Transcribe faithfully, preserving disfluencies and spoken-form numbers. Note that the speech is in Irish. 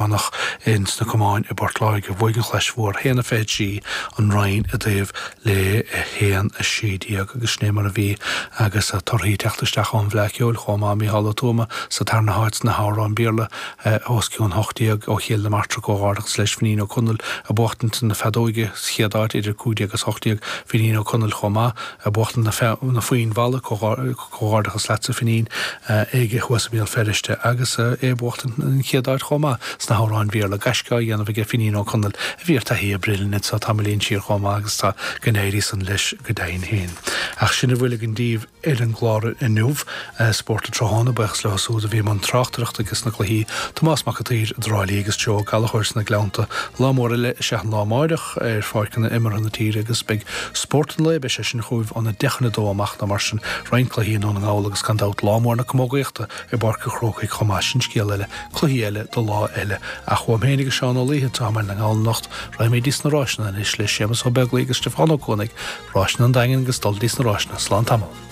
Idirmheánach ins na camáin i bPort Láirge. Bhuaigh an Chlais Mhór a haon a fiche trí, an Rinn i dtaobh le a haon a sé déag agus sin é mar a bhí agus torthaí ag teacht isteach ón bhFleadh Cheoil chomh maith, Mícheál Ó Tuama sa tarna háit sna hamhráin Béarla os cionn hocht déag ó Chill na Martra comhghairdeachas leis, Finín Ó Conaill ag buachtaint na feadóige sa chéad áit idir cúig déag agus hocht déag, Finín Ó Conaill chomh maith ag buachtaint na foinn mhalla, Comhghairdeachas leatsa Finín aige thuas i mBéal Feirste agus é ag buachtaint an chéad áit chomh maith sna hamhráin Bhéarla. Gaisce á dhéanamh aige Finín Ó Conaill a bhí ar taithí oibre linn anseo tamaillín siar chomh maith agus tá go n-éirí san leis go deimhin féin. Ach sin a bhfuil againn daoibh ar an gclár inniu, Spórt an Tráthnóna, buíochas leo siúd a bhí i mbun tráchtaireachta ages na cluichí, Tomás Mac an tSaoir i dTrá Lí agus Joe Ó Gallchóir sna Gleannta. Lá mór eile is ea an lá amáireach ar pháirceanna imeartha na tíre agus beidh Spórt an lae, beidh sé sin chugaibh óna deich chun a dó amach nó mar sin, roinnt cluichí i nDún na nGall agus gan dabht lá mór na camógaíochta i bPáirc an Chrócaigh chomh maith. Sin scéal eile, cluichí eile do lá eile. Ach uaim féin agus Seán Ó Laoithe atá i mBaile na nGall anocht, raghaimid dtí sna ráiseanna anois le Séamus Ó Beaglaoich agus Stiofán Ó Cuanaigh, Ráiseanna an Daingin agus dul dtí sna ráiseanna. Slán tamall.